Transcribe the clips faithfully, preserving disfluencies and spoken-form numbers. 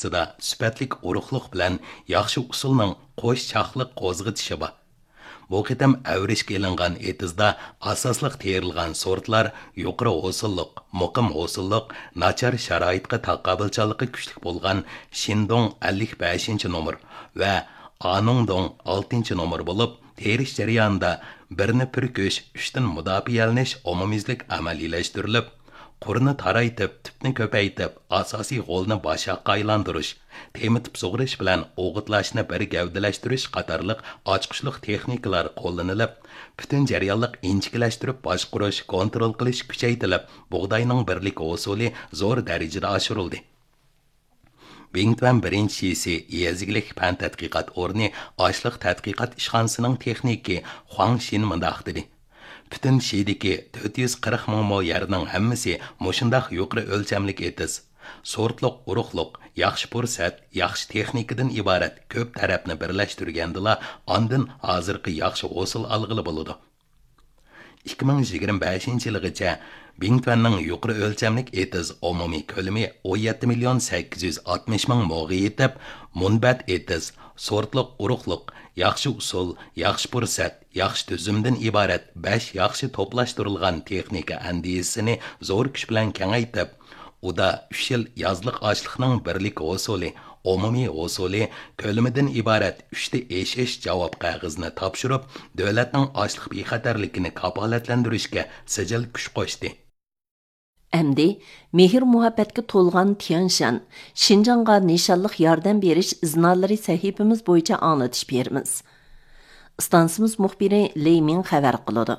ئارىسىدا سۈپەتلىك ئۇرۇقلۇق بىلەن ياخشى ئۇسۇلنىڭ قوش چاقلىق قوزغىتىشى بار. بۇ قېتىم ئەۋرىشكە ئېلىنغان ئېتىزدا ئاساسلىق تېرىلغان سورتلار يۇقىرى ھوسۇللۇق، مۇقىم ھوسۇللۇق، ناچار شارائىتقا تاقابىلچانلىقى كۈچلۈك بولغان شىندۇڭ ئەللىك بەشىنچى نومۇر ۋە ئانۇڭدۇڭ ئالتىنچى نومۇر بولۇپ، تېرىش جەريانىدا بىرنى پۈركۈش، ئۈچتىن مۇداپىئەلىنىش ئومۇميۈزلۈك ئەمەلىيلەشتۈرۈلۈپ، قۇرنى تارايتىپ، تۈپنى كۆپەيتىپ، ئاساسىي غولنى باشاققا ئايلاندۇرۇش، تېمىتىپ سۇغىرىش بىلەن ئوغۇتلاشنى بىر گەۋدىلەشتۈرۈش قاتارلىق ئاچقۇچلۇق تېخنىكىلار قوللىنىلىپ، پۈتۈن جەريانلىق ئىنچىكىلەشتۈرۈپ باشقۇرۇش، كونترول قىلىش كۈچەيتىلىپ، بۇغداينىڭ بىرلىك ھوسۇلى زور دەرىجىدە ئاشۇرۇلدى. بىڭتۈەن بىرىنچى شىسى يېزا ئىگىلىك پەن تەتقىقات ئورنى ئاشلىق تەتقىقات ئىشخانىسىنىڭ تېخنىكى خۇاڭ شىن مۇنداق دېدى: پۈتۈن شىدىكى تۆت يۈز قىرىق مىڭ مو يەرنىڭ ھەممىسى مۇشۇنداق يۇقىرى ئۆلچەملىك ئېتىز، سورتلۇق ئۇرۇقلۇق، ياخشى پۇرسەت، ياخشى تېخنىكىدىن ئىبارەت كۆپ تەرەپنى بىرلەشتۈرگەندىلا، ئاندىن ھازىرقى ياخشى ھوسۇل ئالغىلى بولىدۇ. ئىككى مىڭ يىگىرمە بەشىنچى يىلىغىچە بىڭتۈەننىڭ يۇقىرى ئۆلچەملىك ئېتىز ئومۇمىي كۆلىمى ئون يەتتە مىليون سەككىز يۈز ئاتمىش مىڭ موغا يېتىپ، مۇنبەت ئېتىز، سورتلۇق ئۇرۇقلۇق، ياخشى ئۇسۇل، ياخشى پۇرسەت، ياخشى تۈزۈمدىن ئىبارەت بەش ياخشى توپلاشتۇرۇلغان تېخنىكا ئەندىزىسىنى زور كۈچ بىلەن كېڭەيتىپ، ئۇدا ئۈچ يىل يازلىق ئاشلىقنىڭ بىرلىك ھوسۇلى، ئومۇمىي ھوسۇلى، كۆلىمىدىن ئىبارەت ئۈچتە ئېشىش جاۋاب قەغىزىنى تاپشۇرۇپ، دۆلەتنىڭ ئاشلىق بىخەتەرلىكىنى كاپالەتلەندۈرۈشكە سىجىل كۈچ قوشتى. ئەمدى مېھىر-مۇھەببەتكە تولغان تيەنشان، شىنجاڭغا نىشانلىق ياردەم بېرىش ئىزنالىرى سەھىپىمىز بويىچە ئاڭلىتىش بېرىمىز. ئىستانسىمىز مۇخبىرى لېي مىڭ خەۋەر قىلىدۇ.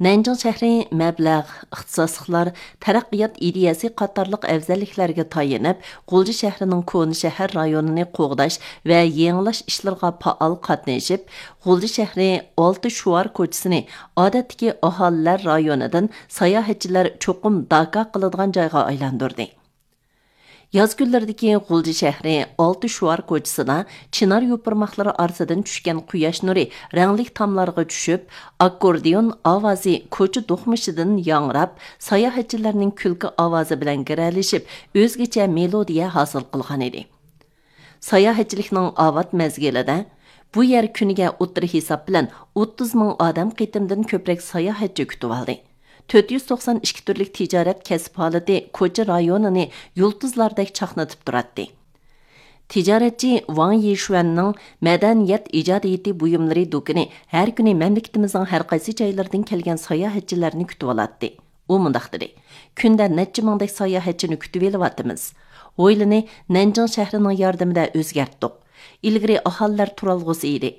نەنجىڭ شەھىرى مەبلەغ، ئىختىساسلىقلار، تەرەققىيات ئىدىيەسى قاتارلىق ئەۋزەللىكلەرگە تايىنىپ، غۇلجا شەھىرىنىڭ كونا شەھەر رايونىنى قوغداش ۋە يېڭىلاش ئىشلىرىغا پائال قاتنىشىپ، غۇلجا شەھىرى ئالتە شوئار كوچىسىنى ئادەتتىكى ئاھالىلەر رايونىدىن ساياھەتچىلەر چوقۇم داكا قىلىدىغان جايغا ئايلاندۇردى. ياز كۈنلىرىدىكى غۇلجا شەھىرى ئالتە شوئار كوچىسىدا چىنار يوپۇرماقلىرى ئارىسىدىن چۈشكەن قۇياش نۇرى رەڭلىك تاملارغا چۈشۈپ، ئاككوردىيون ئاۋازى كوچا دوقمۇشىدىن ياڭراپ، ساياھەتچىلەرنىڭ كۈلكە ئاۋازى بىلەن گىرەلىشىپ، ئۆزگىچە مېلودىيە ھاسىل قىلغانىدى. ساياھەتچىلىكنىڭ ئاۋات مەزگىلىدە بۇ يەر كۈنىگە ئوتتۇرا ھېساب بىلەن ئوتتۇز مىڭ ئادەم قېتىمدىن كۆپرەك ساياھەتچى كۈتۈۋالدى. تۆت يۈز توقسان ئىككى تۈرلۈك تىجارەت كەسىپ ھالىتى كوچا رايونىنى يۇلتۇزلاردەك چاقنىتىپ تۇراتتى. تىجارەتچى ۋاڭ يىشۈەننىڭ مەدەنىيەت ئىجادىيىتى بۇيۇملىرى دۇكىنى ھەر كۈنى مەملىكىتىمىزنىڭ ھەر قايسى جايلىرىدىن كەلگەن ساياھەتچىلەرنى كۈتۈۋالاتتى. ئۇ مۇنداق دېدى: كۈندە نەچچە مىڭدەك ساياھەتچىنى كۈتۈۋېلىۋاتىمىز. ھويلىنى نەنجىڭ شەھىرىنىڭ ياردىمىدە ئۆزگەرتتۇق. ئىلگىرى ئاھالىلەر تۇرالغۇسى ئىدى.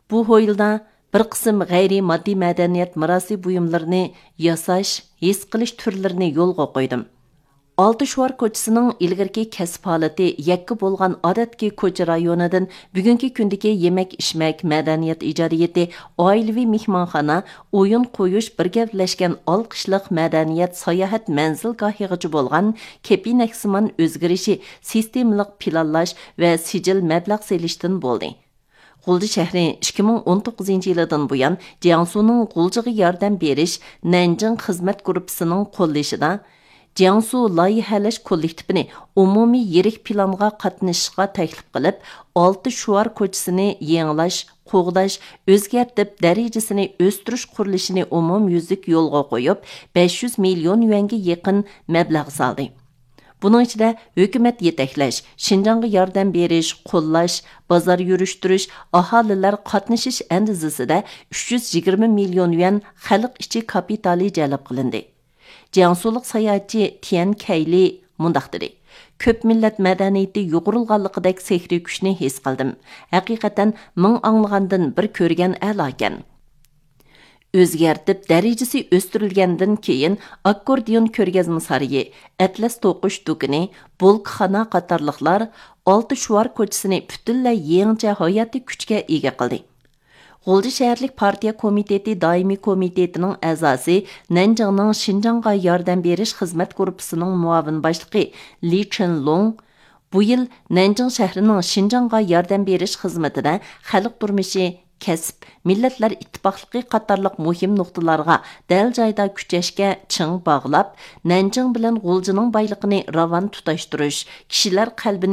بۇ ھويلىدا بىر قىسىم غەيرىي ماددىي مەدەنىيەت مىراسى بۇيۇملىرىنى ياساش، ھېس قىلىش تۈرلىرىنى يولغا قويدۇم. ئالتە شوئار كوچىسىنىڭ ئىلگىرىكى كەسىپ ھالىتى يەككە بولغان ئادەتتىكى كوچا رايونىدىن بۈگۈنكى كۈندىكى يېمەك-ئىچمەك، مەدەنىيەت ئىجادىيىتى، ئائىلىۋى مېھمانخانا، ئويۇن قويۇش، بىر گەۋدىلەشكەن ئالقىشلىق مەدەنىيەت ساياھەت مەنزىلگاھىغىچە بولغان كېپىنەكسىمان ئۆزگىرىشى، سىستېمىلىق پىلانلاش ۋە سىجىل مەبلەغ سېلىشتىن بولدى. غۇلجا شەھىرى ئىككى مىڭ ئون توققۇزىنچى يىلىدىن بۇيان جياڭسۇنىڭ غۇلجىغا ياردەم بېرىش نەنجىڭ خىزمەت گۇرۇپپىسىنىڭ قوللىشىدا جياڭسۇ لايىھەلەش كوللېكتىپىنى ئومۇمىي يىرىك پىلانغا قاتنىشىشقا تەكلىپ قىلىپ، ئالتە شوئار كوچىسىنى يېڭىلاش، قوغداش، ئۆزگەرتىپ، دەرىجىسىنى ئۆستۈرۈش قۇرۇلۇشىنى ئومۇميۈزلۈك يولغا قويۇپ، بەش يۈز مىليون يۈەنگە يېقىن مەبلەغ سالدى. بۇنىڭ ئىچىدە ھۆكۈمەت يېتەكلەش، شىنجاڭغا ياردەم بېرىش، قوللاش، بازار يۈرۈشتۈرۈش، ئاھالىلەر قاتنىشىش ئەندىزىسىدە ئۈچ يۈز يىگىرمە مىليون يۈەن خەلق ئىچى كاپىتالى جەلپ قىلىندى. جياڭسۇلۇق ساياھەتچى تيەن كەيلى مۇنداق دېدى: كۆپ مىللەت مەدەنىيىتى يۇغۇرۇلغانلىقىدەك سېھرىي كۈچنى ھېس قىلدىم. ھەقىقەتەن مىڭ ئاڭلىغاندىن بىر كۆرگەن ئەلاكەن. ئۆزگەرتىپ، دەرىجىسى ئۆستۈرۈلگەندىن كېيىن، ئاككوردىيون كۆرگەزمە سارىيى، ئەتلەس توقۇش دۇكىنى، بولكىخانا قاتارلىقلار ئالتە شوئار كوچىسىنى پۈتۈنلەي يېڭىچە ھاياتىي كۈچكە ئىگە قىلدى. غۇلجا شەھەرلىك پارتىيە كومىتېتى دائىمىي كومىتېتىنىڭ ئەزاسى، نەنجىڭنىڭ شىنجاڭغا ياردەم بېرىش خىزمەت گۇرۇپپىسىنىڭ مۇئاۋىن باشلىقى لى چېنلۇڭ، بۇ يىل نەنجىڭ شەھىرىنىڭ شىنجاڭغا ياردەم بېرىش خىزمىتىدە خەلق تۇرمۇشى، كەسىپ، مىللەتلەر ئىتتىپاقلىقى قاتارلىق مۇھىم نۇقتىلارغا دەل جايدا كۈچەشكە چىڭ باغلاپ، نەنجىڭ بىلەن غۇلجىنىڭ بايلىقىنى راۋان تۇتاشتۇرۇش، كىشىلەر قەلبىنى